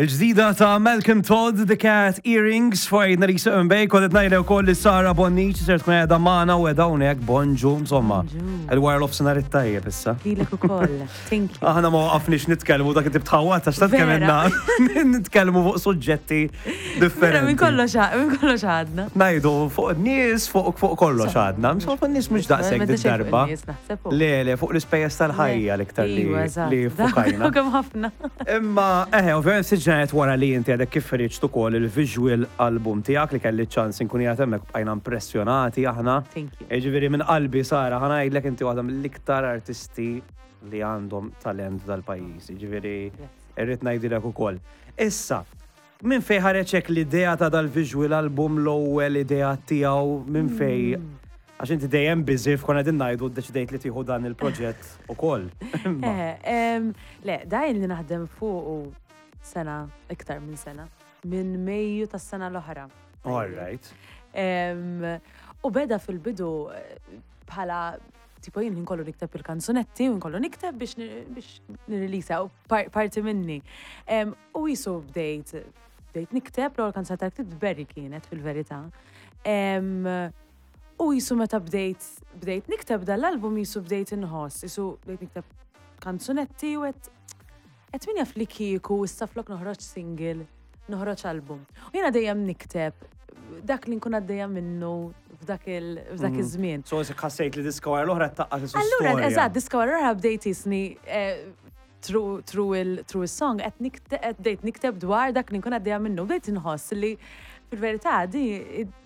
Il-ġdida ta' Malcolm Todd, The Cat Earrings, fuq għidna li jisuq bej, kodet najda u koll li Sara Bonnici, ser tkun għedha maħna u għedha unek, bonġu, insomma. Il-wara l-ofsenar it-tajjeb issa. Lilek u koll, thank you. Aħna ma waqafniex nitkellmu dak it-tip tħawat, għax ta' kemm nitkellmu fuq suġġetti differenti. Minn kollox minn kollox għadna. Najdu fuq nies, fuq fuq kollox għadna. Insomma, fuq nies mhux daqshekk darba. Le, le, fuq l-ispejjeż tal-ħajja l-iktar li li fukajna. Kemm ħafna. Imma, eħe, ovvjament sitt ġranet wara li inti għadek kif ħriġt ukoll il-visual album tiegħek li kelli ċans inkun qiegħed hemmhekk bqajna impressjonati aħna. Thank you. Jiġifieri minn qalbi Sara ħa ngħidlek inti waħda mill-iktar artisti li għandhom talent dal-pajjiż. Jiġifieri irrid ngħidilek ukoll. Issa, minn fejn ħareġ hekk l-idea ta' dal-visual album l-ewwel idea tiegħu minn fejn mm. Għax inti dejjem busy f'konna din ngħidu ddeċidejt li tieħu dan il-proġett ukoll. Eh, le, dajn li naħdem fuq sena, iktar minn sena, minn Mejju tas-sena l-oħra. All right. U beda fil-bidu eh, bħala tipo jien nkollu nikteb il-kanzunetti u nkollu nikteb biex biex nirreleasa u parti minni. U jisu bdejt bdejt nikteb l-ewwel kanzunetta ktibt Berry kienet fil-verità. U jisu meta bdejt bdejt nikteb dal-album jisu bdejt inħoss, jisu bdejt nikteb kanzunetti u għedt qed min jaf li kieku issa flok noħroġ single, noħroġ album. U jiena dejjem nikteb dak li nkun għaddejja minnu f'dak mhm. iż-żmien. So ħassejt li diska wara l-oħra taqqa' Allura, eżatt, diska wara l-oħra bdejt jisni eh, through il-song qed bdejt nikteb dwar dak li nkun għaddejja minnu, bdejt inħoss li fil-verità di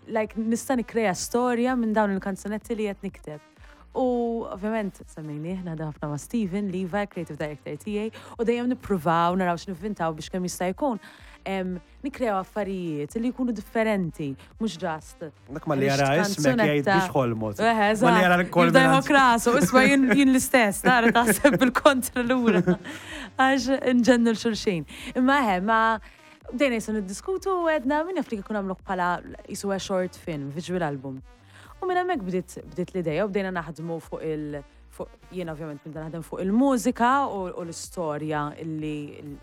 like nista' nikkrea storja minn dawn il-kanzunetti li qed nikteb. U ovvjament semmejnieh naħdem ħafna ma' Steven, Levi, creative director tiegħi, u dejjem nippruvaw naraw x'nivvintaw biex kemm jista' jkun nikkreaw affarijiet li jkunu differenti, mhux just. Dak ma li jara ismek jgħid biex ħolmot. Eħe, ma li jara l-kol. Jibda jħok rasu, isma jien l-istess, tara taħseb bil-kontra lura. Għax nġennu l-xulxin. Imma eħe, ma bdejna jisu niddiskutu u għedna min jaf li kieku nagħmluh bħala jisu a short film, visual album. U minn hemmhekk bdiet bdiet l-idea u bdejna naħdmu fuq il fuq jiena ovvjament nibda naħdem fuq il-mużika u l-istorja illi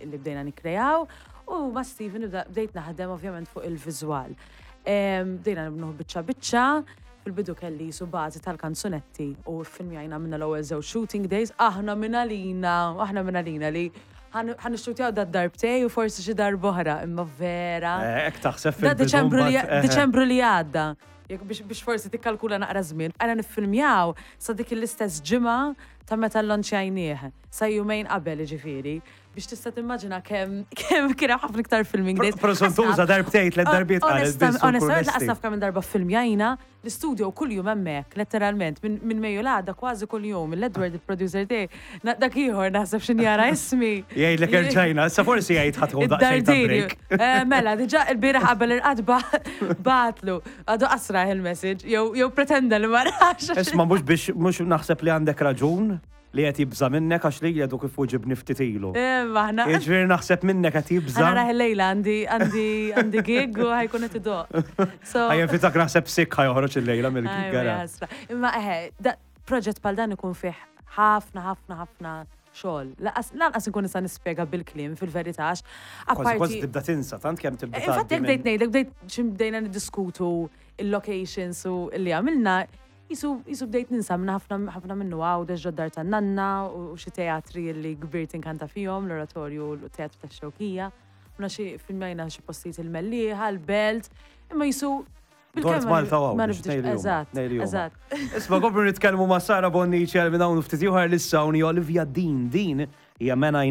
illi bdejna nikkreaw u ma' Steven bdejt naħdem ovvjament fuq il-viżwal. Bdejna nibnuh biċċa biċċa, fil-bidu kelli jisu bażi tal-kanzunetti u ffilmjajna minna l-ewwel żewġ shooting days, aħna minn għalina, aħna minn għalina li ħa nixxutjaw da darbtej u forsi xi darb'oħra, imma vera. Eh, hekk taħseb fil-bidu. Diċembru li għadda. Jekk biex, biex forsi tikkalkula naqra żmien, bqajna niffilmjaw sa dik l-istess ġimgħa ta' meta llonċjajnieh, sa jumejn qabel jiġifieri, biex tista' timmaġina kemm kemm kien hemm ħafna iktar filming days. Prosuntuża darbtejn, tliet darbiet qalet biss. Onestament lanqas naf kemm-il darba ffilmjajna, L-istudio kuljum hemmhekk, letteralment, minn Mejju l-għada kważi kuljum, l-Edward il-producer tiegħi, dak ieħor naħseb x'in jara ismi. Jgħidlek erġajna, issa forsi jgħid ħa tieħu daqsxejn ta' break. Eh, mela, diġà il-bieraħ qabel irqad bagħatlu, għadu qasrah il-message, jew pretenda li ma rax. Isma' mhux biex mhux naħseb li għandek raġun, Li qed jibża' minnek għax lili għadu kif weġibni ftit ilu. Aħna. Jiġifieri naħseb minnek qed jibża'. Ħa narah illejla għandi għandi għandi gig u ħa jkun qed idoqq. So. Ħa jevitak naħseb sick ħa joħroġ illejla mill-gig gara. Imma eħe, proġett bħal dan ikun fih ħafna ħafna ħafna xogħol. Lanqas inkun nista' nispjega bil-kliem fil-verità għax. Kważi kważi tibda tinsa, tant kemm tibda. Infatti jekk bdejt ngħidlek bdejt xi bdejna niddiskutu il-locations u li għamilna, Qisu qisu bdejt ninsa minn ħafna ħafna minnu Għawdex ġod-dar tan-nanna u xi teatri li kbirt inkanta fihom, l-Oratorju u l-Teatru tax-Xewkija. Għamilna xi filmjajna xi postijiet il-Mellieħa, l-Belt, imma qisu Dort Malta u Għawdex, tnejn li huma. Eżatt, eżatt. Isma' nkomplu nitkellmu ma' Sara Bonnici għal minn hawn u ftit ieħor li issa hawn hi Olivia Dean. Din hija Man I Need.